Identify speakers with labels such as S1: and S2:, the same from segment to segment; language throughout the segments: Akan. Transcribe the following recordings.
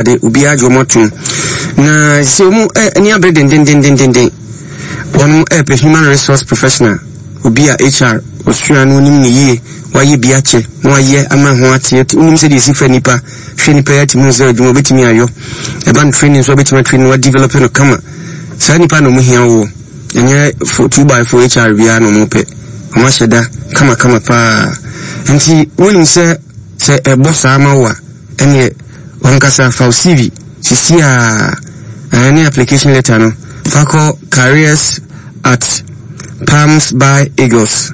S1: De obiara gye wɔn atom na sɛ wɔn ani abere dendendendenden wɔn ɛrepɛ human resource professional obi a HR osua no onim ne yie wayɛ bi akyɛ na wayɛ ama ho ateɛ onim sɛdeɛ esi fa nipa hwɛ nipa yɛ atumi sɛ adwuma obetumi ayɔ ɛba no training nso obetumi atrain no wadevelop no kama saa nipa na wɔn hia wɔ ɛnyɛ fo 2 by 4 HR biara na wɔn pɛ wɔn ahyɛ da kama kama paa nti wɔnim sɛ sɛ ɛbɔ saa ma wo a ɛneɛ wankasa fa wo CV sisi a ɛne application letter no fa kɔ careers@palmsbyeagles,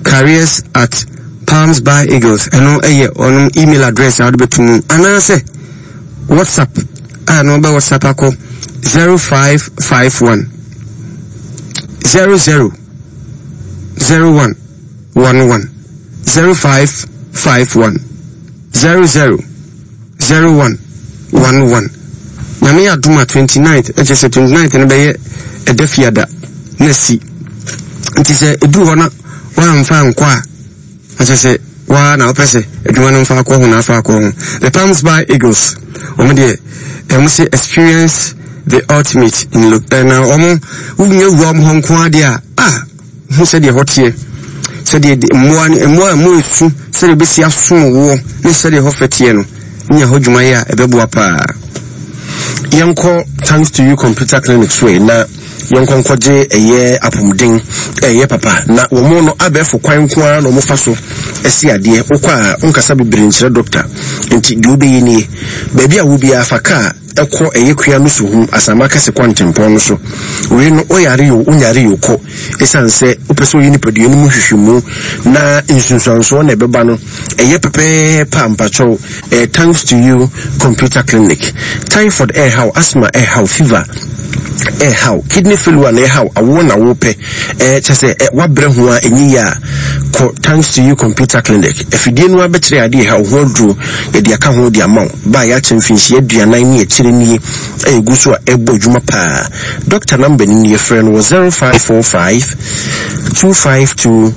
S1: careers@palmsbyeagles. Ɛno ɛyɛ ɔnom email address a wode bɛto mu anaasɛ WhatsApp a na wɔbɛ WhatsApp akɔ 0551 00 01 11, 0551 00 01 11. Nyame yɛ adom a 29th, ɛkyɛ sɛ 29th no bɛyɛ ɛda fiada na si. Nti sɛ ɛduru hɔ na woamfa ankɔ a, ɛkyɛ sɛ waa na wopɛ sɛ adwuma no mfa akɔ ho na afa akɔ ho. The Palms by Eagles, wɔn deɛ ɛmo sɛ experience the ultimate in look. Na wɔn wonya wura wɔn hɔ nko adeɛ a, ah, Hu sɛdeɛ ɛhɔ teɛ, sɛdeɛ mmoa no mmoa a mmoa esu, sɛdeɛ ebesi asom woɔ ne sɛdeɛ ɛhɔ fɛ teɛ no, nya hɔ dwuma yɛ a ɛbɛboa paa.
S2: Yɛnkɔ Thanks to You Computer Clinic so na yɛnkɔ nkɔgye ɛyɛ apɔmuden ɛyɛ papa na wɔn no abɛɛfo kwan nko ara na wɔn fa so ɛsi adeɛ. Wokɔ a wonkasa bebree nkyerɛ dɔkta, nti deɛ wobɛyɛ nie: baabi a wo biara fa kaa ɛkɔ ɛyɛ kua no so hu Asama Kɛse kwantempɔn no so. Wei no woyare o wonyare o kɔ, ɛsiane sɛ wopɛ sɛ woyɛ nipadua no mu nhwehwɛmu na nsunsuansoɔ na ɛbɛba no ɛyɛ pɛpɛɛpɛ a, mpakyɛw ɛyɛ Thanks to You Computer Clinic. Typhoid ɛɛhaw, asthma ɛɛhaw, fever ɛɛhaw, kidney failure na ɛhaw, awoɔ na wopɛ, ɛɛ kyɛ sɛ ɛ wabrɛ ho a ɛnyɛ yie a, kɔ Thanks to You Computer Clinic. Afidie no abɛkyerɛ adeɛ ɛhaw ho aduro yɛde aka ho de ama wo. Ba a yɛakyɛ mfinhyia 40 ne akyire nie a ɛgu so a ɛbɔ adwuma paa. Dɔkta namba no nie, frɛ no wɔ 0545 252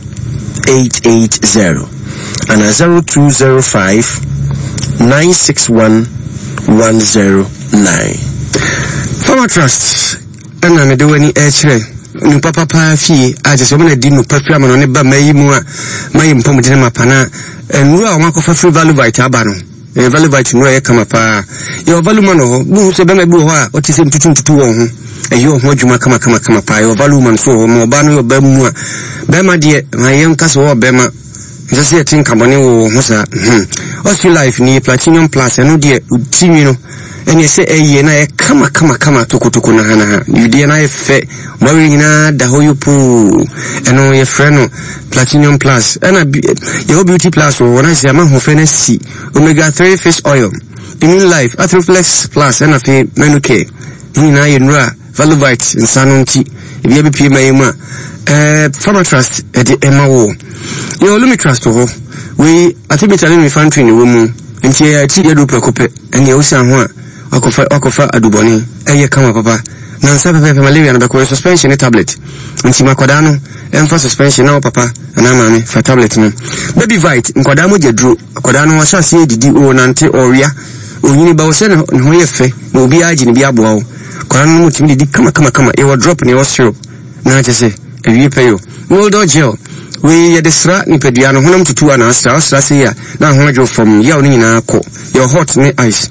S2: 880 anaa 0205 961 109.
S1: Farmer Trust ɛna mede w'ani ɛkyerɛ nupa papa fie a kyerɛ sɛ wɔn na di nupa firi ama no ne ba mayi mu a mayi mpɔmuden mapa na nnuro a wɔn akɔfa firi Valuvite aba no. Ɛyɛ Valuvite nnuro a ɛyɛ kama paa. Yɛwɔ Valuman wɔ hɔ. Wohu sɛ bɛrima bi wɔ hɔ a ɔte sɛ ntutu ntutu wɔ ho. Ɛyɛ ɔho adwuma kama kama kama paa. Yɛwɔ Valuman nso wɔ hɔ. Ma ɔbaa no yɛ ɔbaa mu a. Bɛrima deɛ, ma yɛn nka sɛ ɔwɔ bɛrima. Ɛnsɛ sɛ yɛte nkabɔne wɔ wɔn ho saa. Hmm. Osu Life ni Platinum Plus, ɛno deɛ ti nwi no ɛne sɛ ɛyɛ na ɛyɛ kama kama kama tokotoko na ha na ha. Deɛ na ayɛ fɛ. Mɔwere nyinaa da hɔ yopoo. Ɛno yɛfrɛ no Platinum Plus. Ɛna yɛwɔ Beauty Plus wɔ hɔ na sɛ ama ahoɔfɛ no asi. Omega 3 fish oil, Immune Life, Arthroflex Plus ɛna afei Menucare. Ne nyinaa yɛ nnuro a Valuvite nsa no nti ebi abɛpie ma yɛ mu a ɛɛ Pharmatrust ɛde ɛma wɔ. Yɛwɔ Lumitrust wɔ hɔ. Wei artemether ne lumefantrine wɔ mu. Nti ɛyɛ akyi yɛ duro prɛko pɛ. Ɛnea wosan ho a wakɔfa wakɔfa adubɔne. Ɛyɛ kama papa. Nansa pɛpɛɛpɛ malaria no bɛkɔ. Yɛ suspension ne tablet. Nti ma akwadaa no ɛmfa suspension na wo papa anaa maame fa tablet no. Baby Vite, nkwadaa mogya duro. Akwadaa no wahyɛ aseɛ didi, ɔrenante, ɔrewea, ɔnyini ba wo sɛ ne ho yɛ fɛ na obiara gye ne bi aboa wo. Akwadaa no mutumi didi kama kama kama. Yɛwɔ drop na yɛwɔ syrup na kyɛ sɛ awie pɛ yo. Mildor gel, wei yɛde sra nipadua no, honam tutu a na asra, ɔsra sei a na ho adwo fam, yaw no nyinaa kɔ. Yɛwɔ hot ne ice.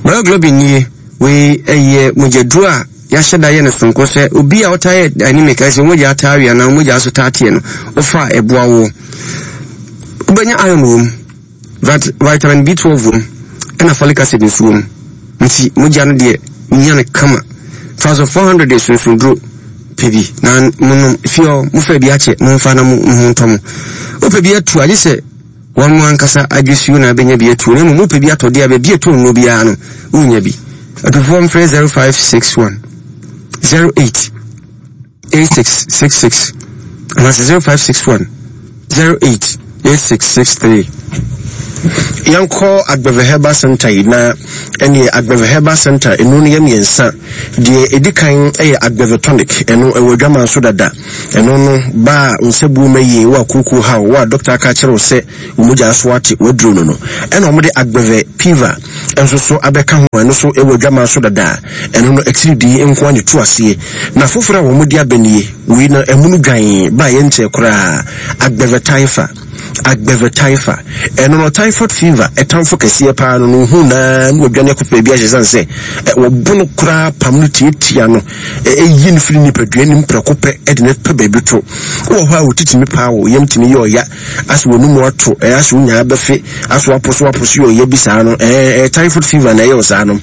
S1: Bioglobin nie, wei ɛyɛ mogyaduro a yɛahyɛ da yɛ no soronko sɛ obi a ɔtaa yɛ anemic, ayɛ sɛ mogya ataa we anaa mogya so taa teɛ no, wofa a ɛboa woɔ. Wobɛnya iron wɔ mu, vitamin B12 wɔ mu, ɛna folic acid nso wɔ mu. Nti mogya no deɛ wonya no kama. Fa so 400 de sunsunduro pɛ bi na monom. Fie hɔ mofa bi akyɛ, momfa na mo ho ntɔ mo. Wopɛ bi atu agye sɛ wɔn mo ankasa adwesuo na abɛnya bi atuo, na mmom wopɛ bi atɔ deɛ a baabi ɛtɔ nnuro biara no wonya bi. Atufoɔ mfrɛ 0561 08 8666 anaasɛ 0561 08 8663.
S2: Yɛnkɔ Agbeve Herbal Center yi na ɛneɛ Agbeve Herbal Center ɛnu no yɛ mmiɛnsa. Deɛ ɛdi kan yɛ Agbeve Tonic, ɛno ɛwɔ adwaman so dada. Ɛno no ba a nsabuo ma yie, wo a kooko haw, wo a dɔkta aka akyerɛ wo sɛ wo mogya so ate, waduro no no. Ɛna wɔde Agbeve Piva nso so abɛka ho, ɛno nso ɛwɔ adwaman so dada. Ɛno no atiridii nko ara na ɛtu aseɛ. Na foforɔ a wɔde aba nie, wei no ɛmono dwan ba a yɛnkyɛɛ koraa, Agbeve Typha. Agbeve Typha. Ɛno no typhoid fever ɛtamfo kɛseɛ paa no no hu naa na wadwane akɔ baabi ahyɛ sane sɛ wɔbo no koraa pam no tiatia no ɛyi no firi nipadua nim prɛko pɛ ɛde no pɛ baabi to. Wɔ hɔ a wotitimi paa wɔ yam tumi yɛ ɔya asɛ wɔn mu ato ɛyɛ asɛ wonya abɛfe asɛ waposo waposo yɛ ɔya bi saa no ɛɛ typhoid fever na ɛyɛ wɔ saa no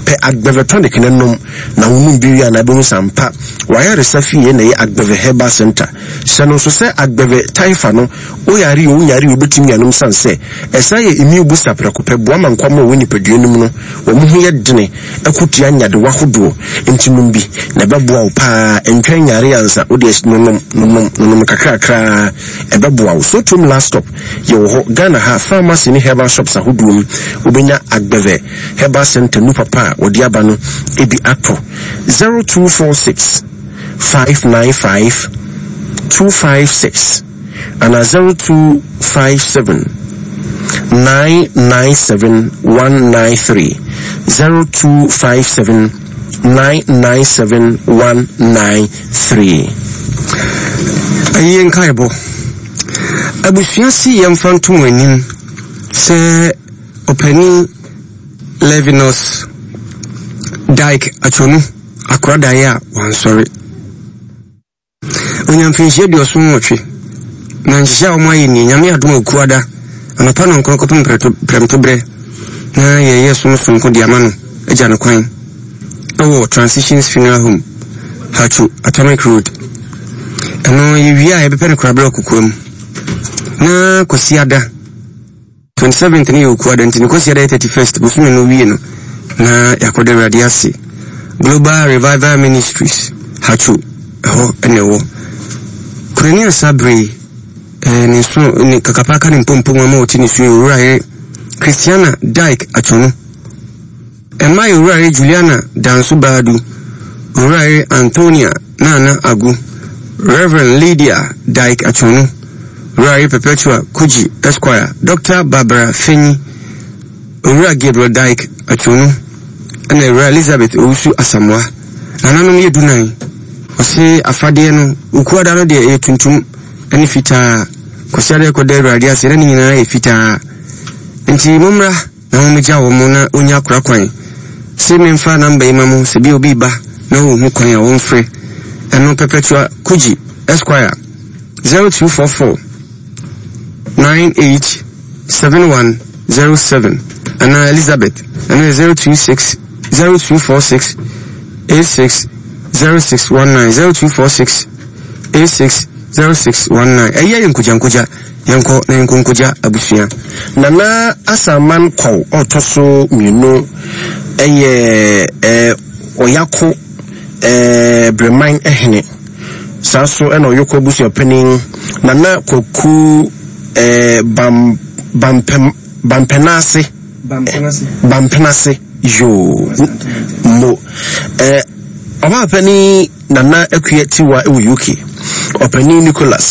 S2: pɛ Agbeve tonic no nom na wonom bi wie a na abɛhu sampa wayaresa fie na ɛyɛ Agbeve Herbal Center. Hyɛ no nso sɛ agbɛvɛ typha no, woyare oo wonyare oo wobɛtumi anom sane sɛ ɛsan yɛ immune booster prɛko pɛ, boa ma nkwammoa a ɛwɔ nipadua no mu no wɔn ho yɛ dene ko tia nyadewa hodoɔ, nti nom bi na ɛbɛboa wo paa, ntwɛn nyare ansa, wodeɛ nonom, nonom, nonom kakrakraa ɛbɛboa wo. Sotrom Last Stop yɛwɔ hɔ Ghana ha, pharmacy ne herbal shops ahodoɔ mu, wobɛnya Agbɛvɛ Herbal Center nu papa a wɔde aba no bi atɔ. 0246. 595 256 anaa 0257 997 193 0257 997 193.
S1: Ayie nkaebɔ. Abusua si yɛmfa nto mo anim sɛ ɔpanin Levinus Dike Achonu akora daeɛ a wansɔre. Ɔnya mfirinhyia 78, na nhyehyɛ a wɔayɛ nie, Nyame adom a Okuada, anɔpa nɔnkron kɔpem prɛmtoberɛ, na yɛyɛ som sononko de ama no agya no kwan wɔ Transitions Funeral Home, Hatcho, Atomic Road. Ɛno yɛwie a yɛbɛpɛ no koraberɛ wɔ kokoam. Na Kwasiada, 27th no yɛ Okuada nti ne Kwasiada yɛ 31st bosome no wie no na yɛakɔda Awurade ase. Global Revival Ministries, Hatcho, ɛhɔ na ɛwɔ. Kunani Asa bere eh, ne nso ne kakapaka ne mpompo ama ɔte ne su yɛ owura yere Christiana Dyke Atwonu. Ɛmma yɛ Owurayere Juliana Danso Badu, Owurayere Antonia Nana Agu, Rev. Lydia Dyke Achonu, Owurayere Perpetua Kudzi Esquire, Dɔkta Barbara Fenyi, Owura Gabriel Dyke Achonu, ɛna Ewura Elizabeth Owusu Asamoah. Nananom yɛ dunan. Ɔse afadeɛ no, Okuada no deɛ ɛyɛ tuntum ne fitaa, Kwasiada ɛkɔda Awurade ase na ne nyinaa yɛ fitaa. Nti mommra. Na wɔgya wɔn na wɔnya kora kwan. Se memfa number yi ma mo sɛ bi obi ba na ɔnhu kwan a ɔmfrɛ ɛno Perpetua Kudzi Esquire 0244 98 7107 anaa Elizabeth ɛno yɛ 026 0246 86 0619 0246 86 0619 ɛyɛ yɛ nkogyankogya. Yɛnkɔ na yɛnkɔ nkogya abusua.
S2: Nana Asaman Kwaw a ɔtɔ so mmienu yɛ Ɔyako Breman hene. Saa nso na Ɔyoko abusuapanin Nana Kwaku Bam Bampem Bampenase Bampenase yoo mo Ɔbaapanin Nana Akua Tiwa wɔ UK. Ɔpanin Nicholas.